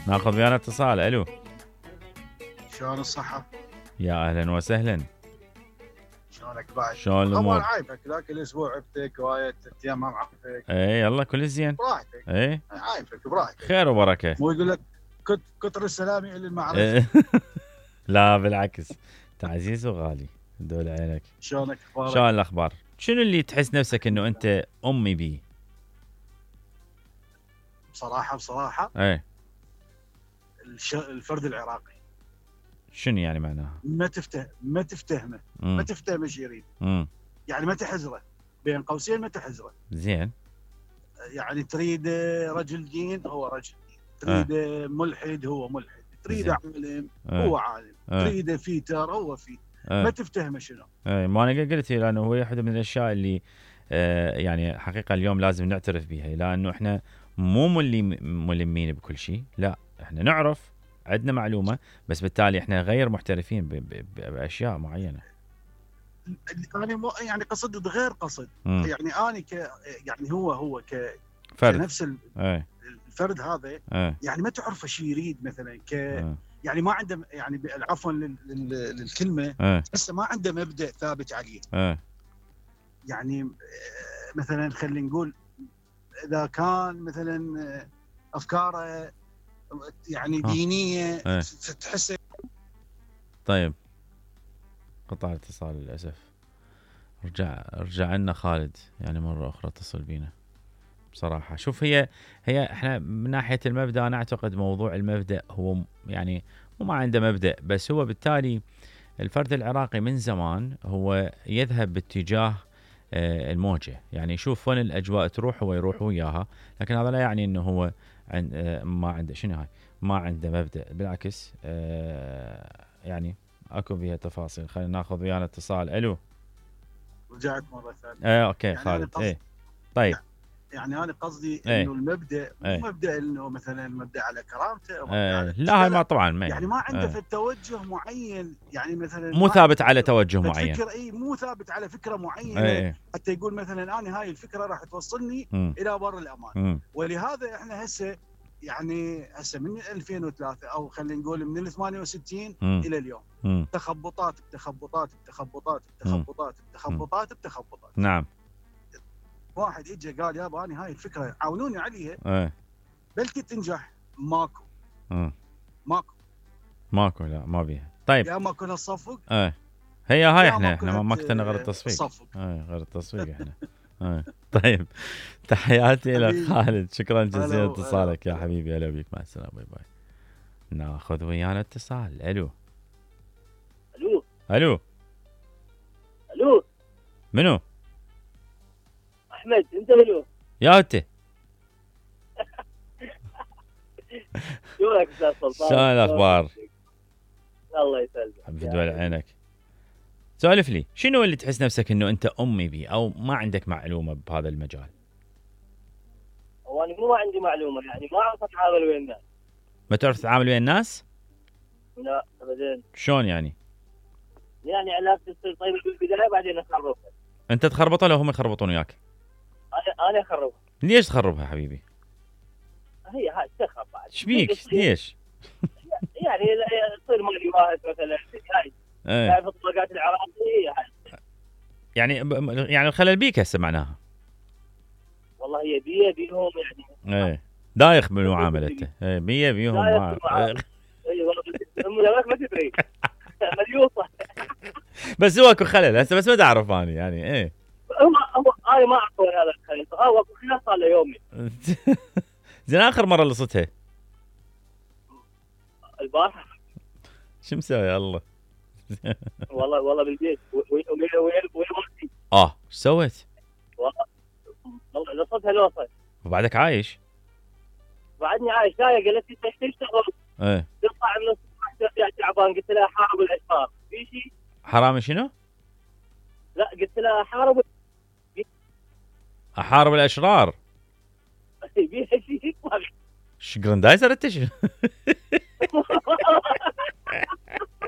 ناخذ ويانا اتصال. الو شلون الصحة؟ يا اهلا وسهلا. شلونك بعد؟ شلون طبعا الامور؟ عايبك ذاك الاسبوع عبتك وايد 3 ايام ما معرفك. اي يلا كل زين. براحتك. اي عايبك براحتك. خير وبركه. مو يقول لك كتر السلام يعلي المعرفة. إيه. لا بالعكس، انت عزيز وغالي دول عينك. شلونك اخبارك؟ شلون الاخبار؟ شنو اللي تحس نفسك انه انت امي بيه؟ بصراحة ايه الفرد العراقي شنو يعني معناها؟ ما تفتهمه ما تفتهمه ايش يريد. يعني ما تحزره، بين قوسين ما تحزره. زين. يعني تريد رجل دين هو رجل دين، تريد ملحد هو ملحد، تريد عالم هو عالم، تريد فيتر هو فيتر. ما تفتهمه شنو. ما انا قلت لانه هو واحده من الاشياء اللي يعني حقيقه اليوم لازم نعترف بها، لانه احنا مو ملمين بكل شيء، لا احنا نعرف، عندنا معلومه، بس بالتالي احنا غير محترفين باشياء معينه. انا يعني قصد غير قصد. يعني انا يعني هو فرد. كنفس الفرد هذا يعني ما تعرف ايش يريد مثلا يعني ما عنده، يعني عفوا للكلمه، هسه ما عنده مبدأ ثابت عليه. يعني مثلا خلينا نقول اذا كان مثلا افكاره يعني دينيه تحس. طيب قطع الاتصال للاسف. رجع لنا خالد يعني مره اخرى اتصل بينا. بصراحه شوف، هي احنا من ناحيه المبدا انا اعتقد موضوع المبدا هو يعني مو ما عنده مبدا، بس هو بالتالي الفرد العراقي من زمان هو يذهب باتجاه الموجه، يعني يشوف وين الاجواء تروح هو يروح وياها، لكن هذا لا يعني انه هو ما عنده شنو هاي، ما عنده مبدا، بالعكس يعني اكو بها تفاصيل. خلينا ناخذ ويانا اتصال. الو رجعت مره ثانيه. اوكي يعني خالد. طيب يعني انا قصدي انه المبدا مو مبدا انه مثلا مبدا على كرامته او لا هاي ما طبعا يعني ما عنده في التوجه معين، يعني مثلا مو ثابت على توجه معين، فكر مو ثابت على فكره معينه حتى يقول مثلا انا هاي الفكره راح توصلني الى بر الامان. ولهذا احنا هسه يعني من 2003 او خلينا نقول من ال 68 الى اليوم تخبطات بتخبطات بتخبطات بتخبطات بتخبطات بتخبطات. نعم. واحد اجى قال يابا انا هاي الفكره عاونوني عليها بلكي تنجح. ماكو لا ما بيها. طيب يا ما كنا نصفق هي هاي احنا ما اخترنا غير التصفيق. غير التصفيق احنا. طيب تحياتي لك خالد، شكرا جزيلا اتصالك يا حبيبي. هلا بيك، مع السلامه، باي باي. ناخذ ويانا اتصال. الو الو الو منو؟ احمد. انت منو؟ يا انت. شلونك استاذ سلطان؟ شلون الاخبار؟ الله يسلمك. بدول عينك. سولف لي، شنو اللي تحس نفسك انه انت امي بيه او ما عندك معلومه بهذا المجال؟ هو انا ما عندي معلومه، يعني ما اعرف اتعامل ويا الناس. ما تعرف تتعامل ويا الناس؟ لا ابدا. شلون يعني؟ يعني علاقتي تصير طيبه بالبدايه بعدين اخربها. انت تخربطها لو هم يخربطون وياك؟ انا اخربها. ليش تخربها حبيبي؟ هي هاي تخرب بعد. ايش بيك؟ ليش؟ يعني تصير مالي واحد مثلا هاي تعرف الطلقات العراقيه هاي. يعني الخلل بيك هسه معناها؟ والله هي بيهم يعني. دايخ بالمعامله. بيهم اي والله ما تدري. مليوصه. بس هو اكو خلل هسه، بس ما تعرف اني يعني هو انا ما اعرف هذا الخلل. هو اكو خلل صار له يومين. زين اخر مره لصتها البارحه. شو مسوي الله؟ والله بالبيت وين مرتي. ايش سويت؟ والله لصتها لوصه. وبعدك عايش؟ بعدني عايش. جايه قالت لي ايش تشتغل؟ تطلع من الصبح تعبان. قلت لها حارب الاشرار. في شيء؟ حرامي شنو؟ لا قلت لها احارب الاشرار. بيها شيء. شو جراندايزر انت؟